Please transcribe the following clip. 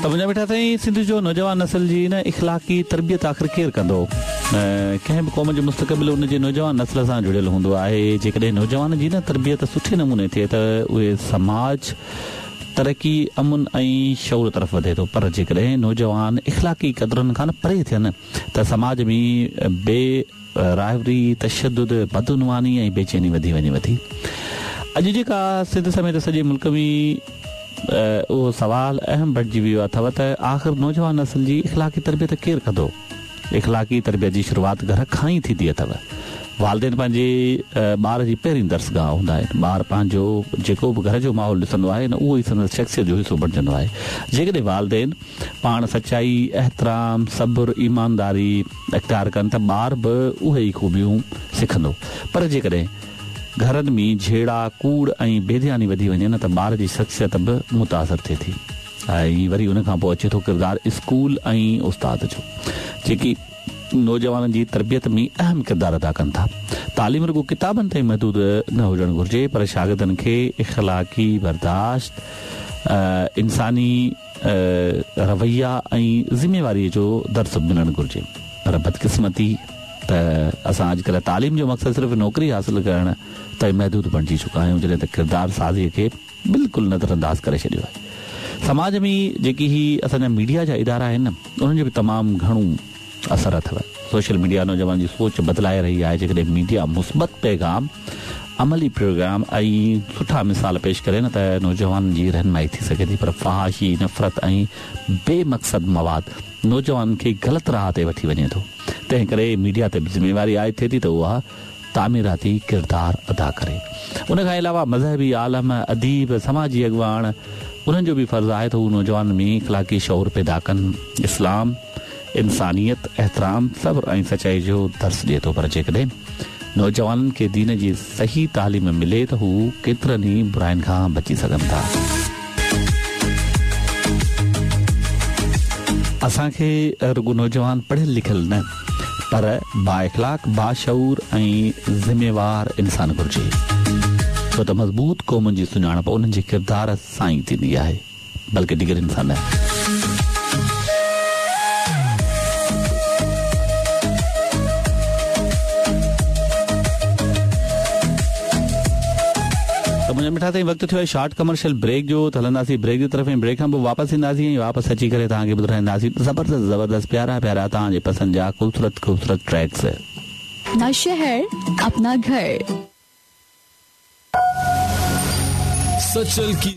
ته منهنجا مٺا سائين سنڌ جو نوجوان نسل جي نه اخلاقي تربيت آخر ڪير ڪندو؟ ڪنهن به قوم جو مستقبل ان جي نوجوان نسل سان جڙيل هوندو آهي جيڪڏهن نوجوان جي نه تربيت سٺي نموني ٿئي ته اهي سماج ترقي امن ۽ شعور طرف وڌي ٿو پر جيڪڏهن نوجوان اخلاقي قدرن کان پري ٿين ته سماج ۾ بي راهوي، تشدد، بدعنواني ۽ بيچيني وڌي وڃي ٿي. اڄ جيڪا سنڌ سميت سڄي ملڪ ۾ اهو سوال اهم بڻجي ويو اٿو ته آخر نوجوان نسل جي اخلاقي تربيت ڪير ڪندو؟ اخلاقي تربيت جي شروعات گهر کان ئي ٿيندي اٿو. والدين پنهنجي ٻار جي پهرين درسگاهه هوندا آهن. ٻار پنهنجو جيڪو به گهر جو ماحول ڏسندو آهي نه اهو ئي سندس شخصيت جو حصو بڻجندو آهي. جيڪڏهن والدين پاڻ سچائي، احترام، صبر، ايمانداري اختيار ڪن ته ٻار به اهي ئي خوبيون سکندو. پر جيڪڏهن گهرن ۾ جهيڙا، ڪوڙ ۽ بي ڌياني وڌي وڃي نه ته ٻار جي شخصيت به متاثر ٿئي ٿي ۽ وري ان کان پوء اچي ٿو ڪردار اسڪول ۽ استاد جو جيڪي نوجوانن جي تربيت ۾ اهم ڪردار ادا ڪن ٿا. تعليم رڳو ڪتابن تائين محدود نه هجڻ گهرجي پر شاگردن کي اخلاقي برداشت، انساني رويا ۽ ذميواريء جو درس به ملڻ گهرجي پر بدقسمتي ته اسان اڄڪلهه تعليم جو مقصد صرف نوڪري حاصل ڪرڻ تائين محدود بڻجي چڪا آهيون جڏهن ته ڪردار سازيء کي بلڪل نظرانداز ڪري ڇڏيو آهي. سماج ۾ جيڪي هي اسان جا ميڊيا جا ادارا آهن نه انهن جو به تمام گهڻو اثر اٿو. سوشل ميڊيا نوجوانن جي سوچ بدلائي رهي آهي جيڪڏهن ميڊيا مثبت پيغام، عملي پروگرام ۽ سٺا مثال پيش ڪري نه ته نوجوانن جي رهنمائي ٿي سگهي ٿي پر فحاشي، نفرت ۽ بي مقصد مواد نوجوانن کي غلط راهه تي وٺي وڃي ٿو تنهن ڪري ميڊيا تي به ذميواري عائد ٿئي ٿي ته اها تعميراتي ڪردار ادا ڪري. ان کان علاوه مذهبي عالم، اديب، سماجي اڳواڻ انهن جو به فرض آهي ته هو نوجوانن ۾ اخلاقي شعور پيدا ڪن. اسلام انسانيت، احترام، صبر ۽ سچائي جو درس ڏئي ٿو پر جيڪڏهن نوجوانن کي دين جي صحيح تعليم ملي ته هو ڪيترن ئي براين کان بچي سگهن ٿا. اسان کي رڳو نوجوان پڙهيل لکيل نه پر بااخلاق، باشعور ۽ ذميوار انسان گهرجي. ڇو ته مضبوط قومن جي سڃاڻپ انهن جي ڪردار سان ئي ٿيندي آهي. بلڪه ڊگرين سان نه. ته منهنجا مٺا سائين وقت ٿيو آهي شارٽ ڪمرشل بريڪ جو ته هلنداسين بريڪ جي طرف ۽ بريڪ کان پوء واپس اينداسين ۽ واپس اچي ڪري توهان کي ٻڌرائينداسين زبردست زبردست پيارا پيارا توهان جي پسند جا خوبصورت خوبصورت ٽريڪس. اپنا شهر اپنا گهر. سچل ڪي.